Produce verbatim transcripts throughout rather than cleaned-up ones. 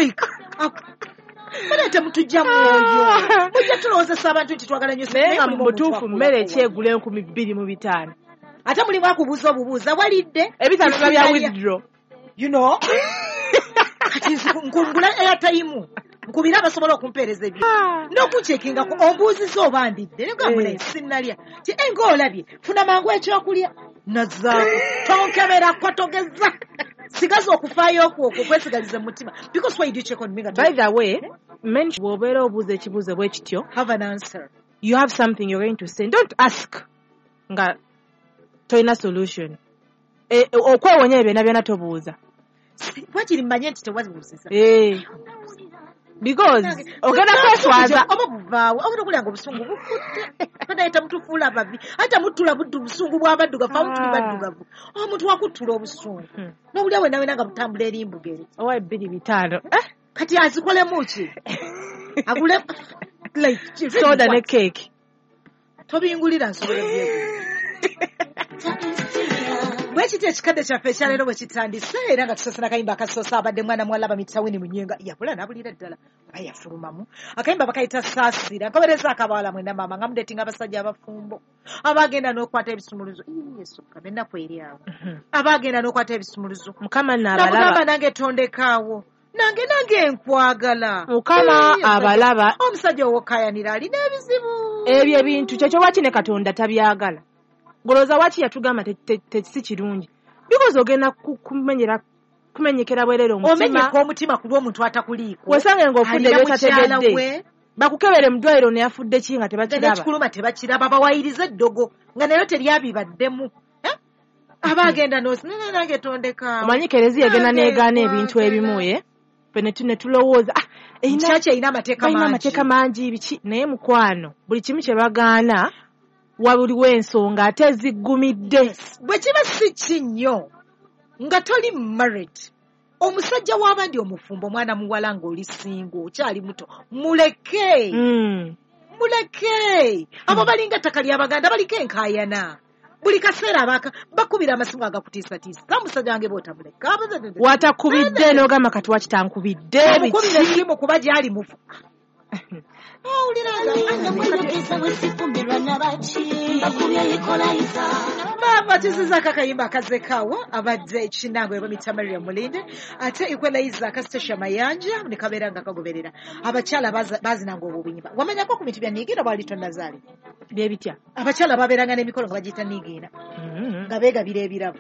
Like, mune temutujja mwoyo, mujja tulowoozesa abantu nti twagala nnyo. Naye nga mulimu mu omuntu butuufu akulako mmere ki wano. Egula enkumi bbiri mu bitaano? Ate mulimu akubuuza obubuuza, walidde? Ebitaano biba bya Sinalya. withdraw. You know, kati nzi- nkungula airtime, nkubira abasobola okumpeereza ebyo n'okunkyekingako, ombuuziza oba ndidde, negamba Eh. sinnalya ti enga olabye, funa mangu ekyokulya nazaako, tonkeberako, togeza, sigaza okufaayo okwo okwo kwesigaliza mu mutima, because why do you check on me nga By the way, men, bw'obeera obuuza ekibuuzo bwe kityo, have an answer. You have something you're going to say. Don't ask nga tolina solution. Eh, okwewonya ebyo byonna byonna, tobuuza. Wakiri mmanye nti tewabuuziza. Eh. Because ogenda kweswaza. Oba buvaawo, ogenda okulya nga obusungu bukutte, naye temutufuula babi, ate temuttula buddu busungu bw'abaddugavu. Amu tuli Ah. baddugavu, omuntu wakuttula obusungu Hmm. n'obulya wena wena nga butambula eri mbugere. Owa ebbiri bitaano. Eh? Kati azikolemu ki? Agule like Soda ne what? Cake. Tobingulira, nsobola byegula. Bwe kiti ekikadde kyaffe ekyaleero bwe kitandise, era nga tusose nakayimba akasoose, abadde mwana muwala bamuyita Winnie Munyenga, yabula n'abulira ddala oba yafulumamu. Akayimba bakayita Saasira. Nkobereza akabawala mwena, maama, nga mudetinga abasajja abafumbo abagenda n'okwata ebisumuluzo. Ii, Yesu Mukama, ennaku eri awo, abagenda n'okwata ebisumuluzo. Mukama nno Namugamba, abalaba. "Nange tondekaawo, nange nange nkwagala." Mukama Ii, abalaba. Omusajja owokayanira alina ebizibu. Ebyo ebintu kyekyo waki ne Katonda tabyagala. Golooza waki yatugamba te- te- te- si kirungi, because ogenda ku- kumenyera kumenyekera bwerere omutima. Omenyeka omutima ku lw'omuntu atakuliiko. Wesange ng'ofudde Alina mukyala byotategedde. We. Bakukebere mu ddwaliro, ne yafudde ki nga tebakiraba. Nekikuluma tebakiraba, bawayiriza eddogo nga nayo teryabibaddemu. Eh? Aba agenda nosi nange tondeka. Omanyi kereziya egenda Nange negaana ebintu nkwagala. ebimu, ye ffe ne tu- ne tulowooza, "Ah, erina- Kyaki erina amateeka balina mangi." Amateeka mangi biki, naye mukwano, buli kimu kye bagaana waliwo ensonga ate eziggumidde. Bwe kiba si ki nnyo nga toli married, omusajja w'abandi omufumbo, omwana muwala ng'oli single, okyali muto, muleke. Mm. Muleke. Abo balinga ettaka ly'Abaganda, baliko enkaayana buli kaseera, abaka bakubira amasimu agakutiisatiisa, "Musajja wange bw'otamuleka." Watakubidde n'ogamba, "Kati wakitankubidde?" Omukubira Biki? Esimu kuba gyali mufu, owulira. Namweyogeza bwe nabaki bakubye equalizer. Maama, tuzizaako akayimba akazekaawo, abadde kinango bamuyita Maria Mulinde, ate Equalizer akasitesha Mayanja ne kabeera nga kagoberera. Abakyala baza- bazinanga obwo obuyimba. Wamanyako ku bintu bya niigiina bwali tonnazaali? Byebitya? Abakyala babeeranga n'emikolo nga bagiyita niigiina, Mm. nga beegabira ebirabo.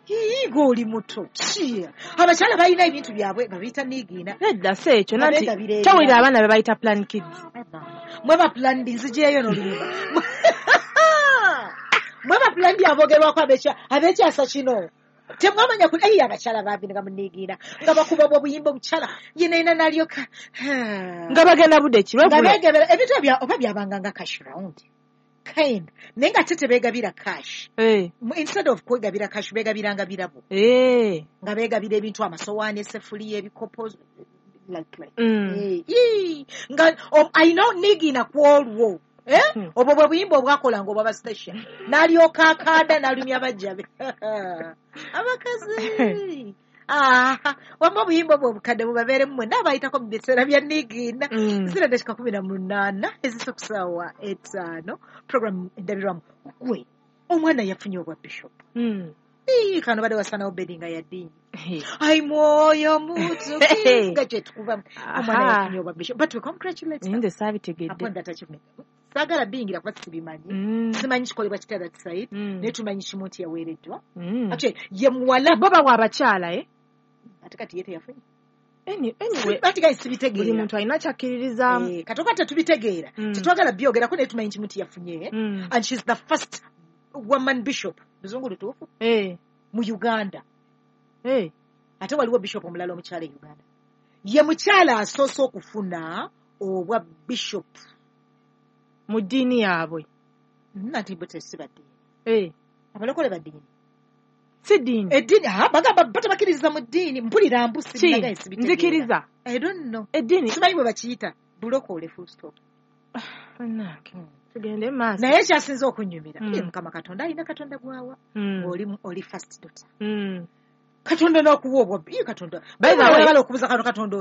Yiiga oli muto ki, abakyala balina ebintu byabwe nga biyita niigiina. Nedda, si ekyo. Nga Nanti beegabira ebirabo. tawulira abaana be bayita plan kids. Mwe ba planned, nzijeeyo n'oluyimba. Mwe ba planned abogerwako abekya- ab'ekyasa kino, temwamanya ku eyi abakyala babinga muniigiina nga bakuba obwo obuyimba, omukyala yenaina nalyoka Nga bagenda budde ki? Nga Lwegulo? beegabira ebintu ebya oba byabanga nga cash round kind, naye nga ate tebeegabira cash. Eh, Mu- instead of kwegabira cash, beegabiranga birabo, eh. nga beegabira ebintu, amasowaani, essefuliya, ebikopo, like like Mm. Eh, ii, nga o- alina niigiina ku olwo. Eh? Hmm. Obwo bwe buyimba obwakolanga obwa bastation, n'alyoka akaada n'alumya bajja be abakazi. Ah, wamma obuyimba obwo obukadde bubabeeremu mwenna abayitako mu biseera bya niigiina. Mm. Zira dakika kumi na munaana ezisa ku ssaawa etaano, program Endabirwamu. Gwe omwana yafunye obwa bishop. Mm. Ii, kano badde wasanawo bedi nga yaddiini. Eh. Ai mwoyo mutukivu nga kyetukubamu, omwana Aha. yafunye obwa bishop, but we congratulate her Nze saabitegedde. upon that achievement. Saagala biyingira kuba sibimanyi. Mm. Simanyi kikolebwa kitya that side, Mm. naye tumanyi kimu nti yaweereddwa. Mm. Actually ye muwala. Bo bawa abakyala, eh? Ate kati ye teyafunye. Any- anyway, Ati guys, buli sibitegeera. muntu alina kyakkiririzaamu. Eh, katoka tetubitegeera, Mm. tetwagala byogerako, naye tumanyi kimu nti yafunye, Mm. and she's the first woman bishop, luzungu lutuufu, Eh, mu Uganda. eh. Ate waliwo bishop omulala omukyala e Uganda, ye mukyala asoose okufuna obwa bishop. Mu ddiini yaabwe? Nati bo tesi baddiini. Eh, Abalokole baddiini? Si ddiini. Eddiini, ah, bagamba bo tebakkiririza mu ddiini, mpulira mbu Ki? sinagaye sibitegeera. Nzikiriza. I don't know. Eddiini. Simanyi bwe bakiyita, bulokole, full stop. Bannange, tugende mu maaso. Naye ekyasinze okunyumira, Mm. ye Mukama Katonda alina Katonda gwawa, Mm. oli oli first daughter, Mm. Katonda n'akuwa obwa, ye Katonda By the way- oyagala okubuza kano Katonda.